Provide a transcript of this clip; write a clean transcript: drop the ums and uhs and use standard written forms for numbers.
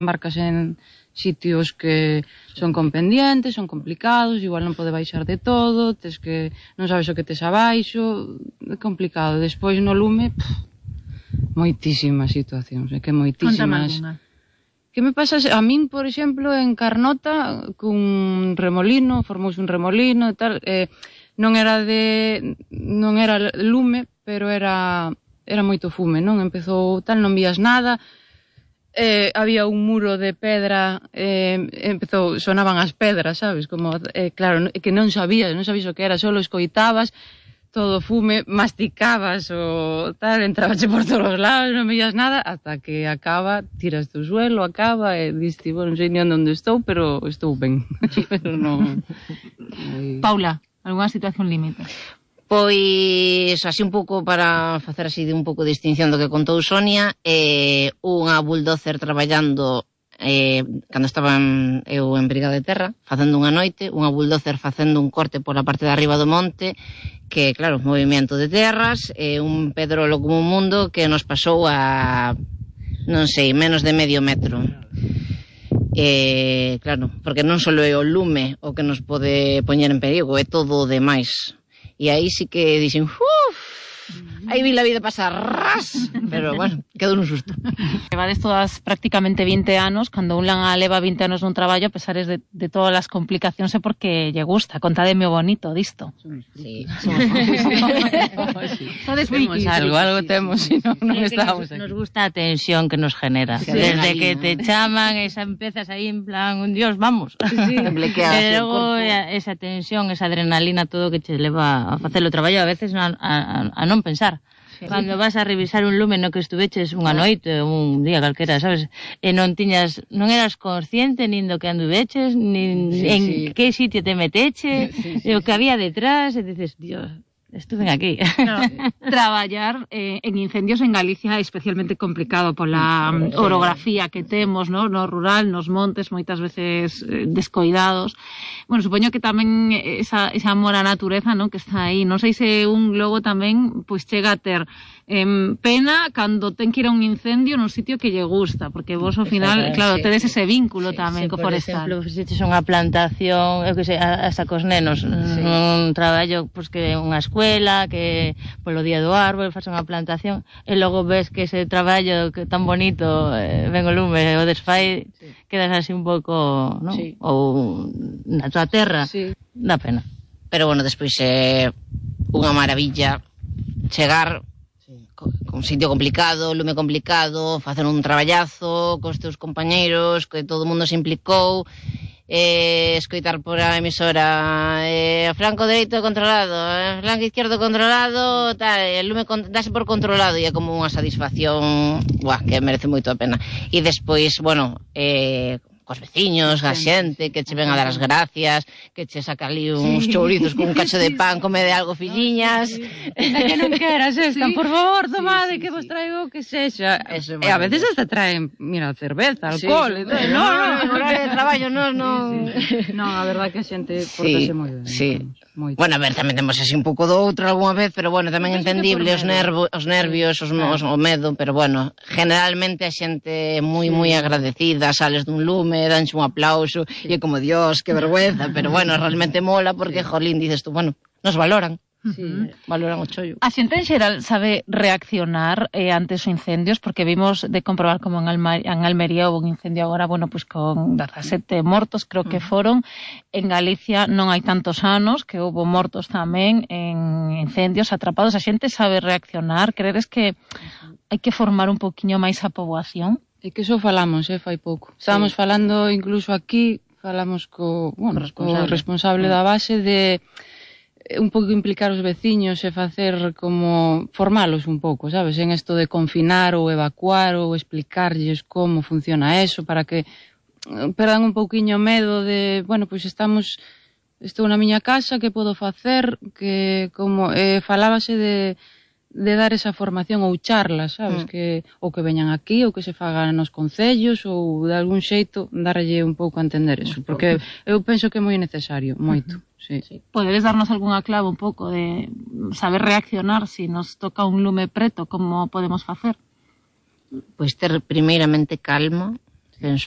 embarcas en sitios que son con pendientes, son complicados, igual non pode baixar de todo, tes que non sabes o que tes abaixo, é complicado. Despois no lume, moitísimas situacións, é que moitísimas. Que me pasa a min, por exemplo, en Carnota, cun remolino, formouse un remolino e tal, non era lume, pero era moito fume, non? Empezou tal, non vías nada, había un muro de pedra, sonaban as pedras, sabes? Como, claro, que non sabías o que era, solo escoitabas, todo fume, masticabas o tal, entrabache por todos os lados, non veías nada, hasta que acaba, tiras do suelo, acaba, e diste, non sei ni onde estou, pero estou ben. Pero non... Paula, algunha situación límite? Pois, así un pouco para facer así de un pouco de distinción do que contou Sonia, unha bulldozer traballando cando estaba eu en Brigada de Terra, facendo unha noite, unha bulldozer facendo un corte pola parte de arriba do monte, que, claro, movimento de terras, un pedrolo como un mundo que nos pasou a, non sei, menos de medio metro. Claro, porque non só é o lume o que nos pode poñer en perigo, é todo o demais. E aí sí que dixen, aí vi la vida pasar, ras, pero bueno, quedou un susto. Levades todas prácticamente 20 anos, cando un leva 20 anos nun traballo, a pesares de todas as complicacións é porque lle gusta, contademe o bonito disto. Sí. Algo temos, se non estamos aquí. Nos gusta a tensión que nos genera. Desde que te chaman, empezas aí en plan, Dios, vamos. E logo esa tensión, esa adrenalina, todo que te leva a facer o traballo, a veces a non pensar. Cando vas a revisar un lume no que estuveches unha noite ou un día calquera, sabes? E non eras consciente nin do que anduveches, nin en que sitio te meteche, e o que había detrás, e dices, Dios, estuve aquí. Claro, traballar en incendios en Galicia é especialmente complicado pola orografía que temos, no rural, nos montes, moitas veces descoidados. Bueno, supoño que tamén esa amor á natureza, no, que está aí. Non sei se un logo tamén pois chega a ter pena cando ten que ir a un incendio nun sitio que lle gusta, porque vos ao final, claro, tedes ese vínculo tamén co forestal. Por exemplo, fixeches unha plantación, eu que sei, hasta cos nenos, un traballo pois que unha escuela, que polo día do árbol faz unha plantación, e logo ves que ese traballo que tan bonito ven o lume, o desfai, quedas así un pouco, non? Ou na tua terra, dá pena. Pero bueno, despois é unha maravilla chegar con un sitio complicado, lume complicado, facer un traballazo cos teus compañeiros, que todo o mundo se implicou, escoitar por a emisora flanco dereito controlado, flanco izquierdo controlado, tal, el lume dase por controlado, e é como unha satisfacción que merece moito a pena. E despois, bueno, cos veciños, a xente que che ven a dar as gracias, que che saca ali uns chourizos con un cacho de pan, come de algo, filliñas. É que non queras esta, por favor, tomade, que vos traigo que sexa. E a veces hasta traen, mira, cerveza, alcohol. No, horario de traballo, non. Non, a verdade que a xente portase moi ben. Sí. Bueno, a ver, tamén temos así un pouco do outro algunha vez, pero bueno, tamén entendible os nervios, o medo, pero bueno, generalmente a xente é moi agradecida, sales dun lume, danche un aplauso, e é como, Dios, que vergüenza, pero bueno, realmente mola, porque, jolín, dices tú, bueno, nos valoran. Valoran o chollo. A xente en xeral sabe reaccionar ante os incendios, porque vimos de comprobar como en Almería houve un incendio agora, bueno, pues con 17 mortos, creo que foron. En Galicia non hai tantos anos que houve mortos tamén en incendios atrapados. A xente sabe reaccionar. Creres que hai que formar un poquinho máis a poboación? É que iso falamos, fai pouco. Estábamos falando incluso aquí, falamos co responsable da base de un pouco implicar os veciños e facer como formalos un pouco, sabes, en isto de confinar ou evacuar ou explicarlles como funciona eso para que perdan un pouquiño medo de, bueno, pois estou na miña casa, que podo facer, que como falábase de dar esa formación ou charlas, sabes, que ou que veñan aquí ou que se fagan nos concellos ou de algún xeito darlle un pouco a entender eso, porque eu penso que é moi necesario, moito. Sí. Podedes darnos algunha clave un pouco de saber reaccionar se nos toca un lume preto, como podemos facer? Pois ter primeiramente calma, penso